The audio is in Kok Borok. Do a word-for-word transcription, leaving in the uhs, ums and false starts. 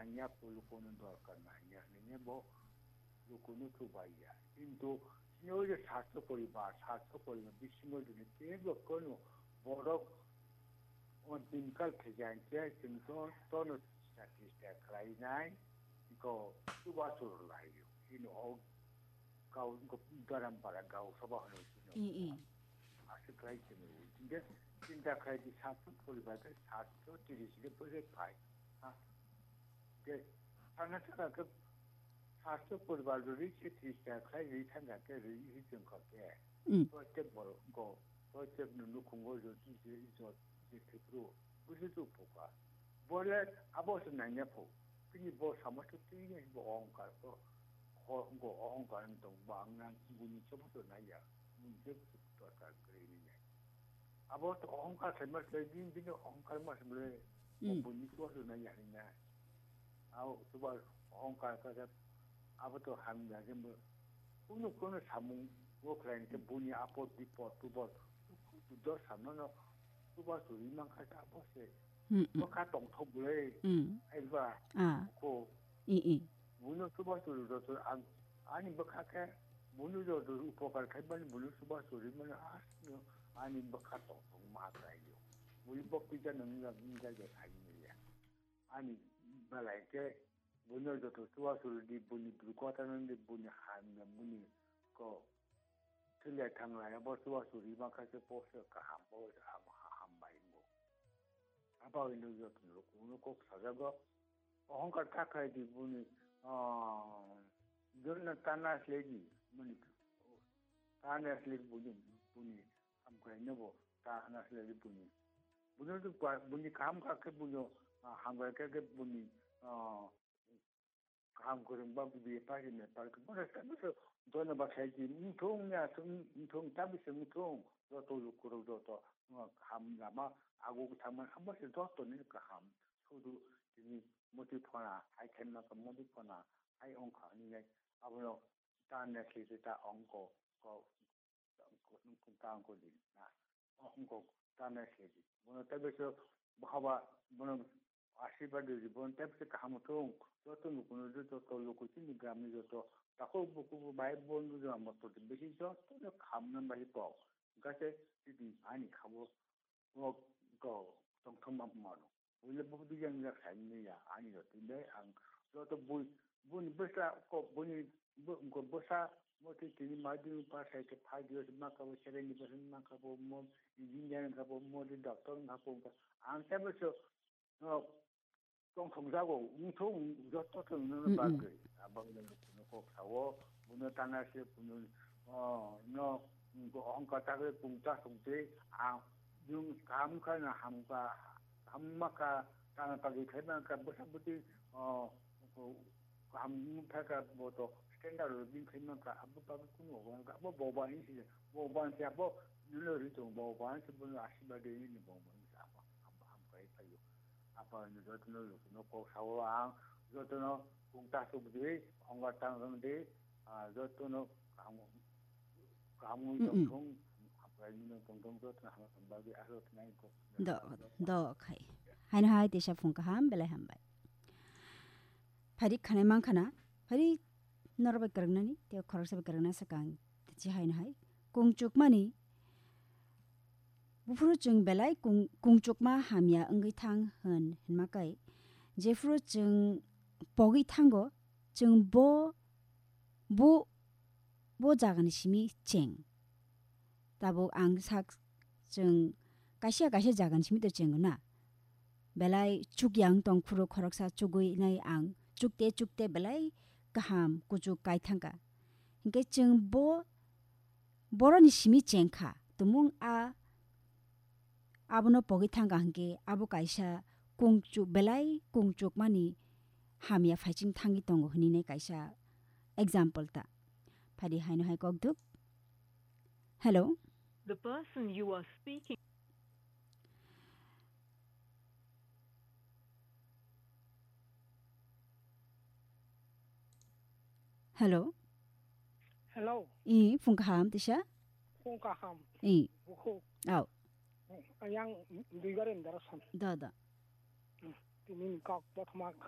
Nangya pulukono dorkar nangya, nini bo lukuno chubai ya. Kintu sini oje satso poribar, satso poribar bisingo dini tebo kono borok on tinkal khejan che, kintu tono chista chista khlainai, ko chuba churu lai yo. Sini o Gao, garam para gao soba hwnwi sino. I, i. Aswk khlai sino. Hingke chinta khlai di satso poribar khe satso tiris khe pwrwk phai. Ha. Ke sana sana khe satso poribar ri se tiris ta khlai ri thang khe ri ri chwng kha khe. Mm. Protek borok go, protek no nukhungo jo ti je jo je thipro. Busi tu phoka. Bole abo se nanya pho. Tini bo sama tu tini bo ongkar ko. Ho go ongkar tong ba ang nang buni chobo to naya. Buni chobo to ta kre ni nai. Abo to ongkar se mas le din din ongkar mas le. Mm. Buni chobo to naya ni nai. Au tuba ongkar ka ka abo to ham ya je mo. Kuno kuno samung wo khlai ke buni apot bipot tubot. Do samno no tuba suri mang kha ta bo se. Mm, mm. Bo kha tong thok bole. Mm. Ai ba. Ah. Ko. I, i. Buno chuba churu joto ang ani bwkha khe buno joto upokar khai mani buno chuba churi mani asno ani bwkha tong tong ma khlai yo. Bui bok pija nang nang nang jai jai khai ni ya. Ani balai khe buno joto chuba churu di buni bru kota nang di buni han na buni ko thilai thang lai bo chuba churi ma kha khe po se kaham po se ham ham bai mo. Abo hino joto no kok sajago. Ohongkar kha khai di buni, ah, jonna tana slegi, buni, tana slegi buni, buni, hamkrai nebo, tana slegi buni. Buni tu pa, buni kaham kha khe buni, ah, hamkrai kha khe buni, ah, kaham kwrwng ba budi pari me pari khe buni khe buni jonna ba khai di, mthung ya, mthung, ta bisi mthung, joto lukurok joto, ah, kaham lama, ago thangma, abo se joto ni kaham. Sudu tini moti phona, hai khenma ka moti phona, hai ongkha hinwi nai. Abono ta nesli se ta ongko, ko, ko, ta ongko di na. Ongko ta nesli di. Bono tebe so bahaba, bono asirwad di, bono tebe se kaham thung. Joto lukuno, joto luku chini gramni joto. Tako buku bai bono jama to bisi joto no kaham no bai pao. Gase tini ani khabo. O ko tongthok ma mano. Buile bo bijang jak sai ni ya ani ro tinde ang joto bui buni bwsa ko buni bo ko bwsa mo ti tini ma di pa sai ke five years ma ka bo seven years ma ka bo mo engineer ka bo mo di doctor ka bo ang sa bo so no tongthok jago ungthok joto thong no Mm, mm. bagwi abang no kok sao buno tana se buno no ko hongka tagre pungta sungte ang Yung kaham kha na hamkha, hamma kha, tana kagwi khaima kha, bwsa bwtwi, o, o, kaham wng thaka bo to standard o bini khaima kha, abo bagwi kunu obo wng kha, abo boba hinwi sija, boba hinwi abo nini ri tongo, boba hinwi se bono asirwad ri ni boba hinwi se abo, abo hamkha ri phaio. Apa hinwi jotono jotono kok sao ang, jotono kung ta suk di, hongga tang rang di, ah, jotono kaham, kaham wng Mm-mm. tong thung, hamkha ri no tong thung, jotono hamkha bagwi aswk nai kok. Do, do khai. Haino hai tisa phung kaham, belai hambai. Phari khanai mang khana, phari norok bai kwrwngnani, tei khoroksa bai kwrwngna swkang, tei chi haino hai. Kung chukmani, buphuru chwng belai kung, kung chukma hamya wngwi thang hwn, hwnma kai. Jephuru chwng pogwi thango, chwng bo, bo, bo jagani simi cheng. Tabuk ang sak chwng kaisa kaisa jagani simi to cheng na. Belai chukya wng tong phuru khoroksa chugwi nai ang chukte chukte belai kaham kuchuk kai thangkha. Hinkhe chwng bo boroni simi chengkha. Tumung a abono pogwi thangkha hinkhe abo kaisa kungchuk belai kungchukmani hamya phaiching thangwi tongo hwnwi nai kaisa example ta. Phadi haino hai kok duk. Hello. The person you are speaking. Hello. Hello. I, phung kaham tisa? Phung kaham. I. Bukhuk. Au. Ayang Duigar Indarasan. Da, da. Hmm. Tini kok bothoma khe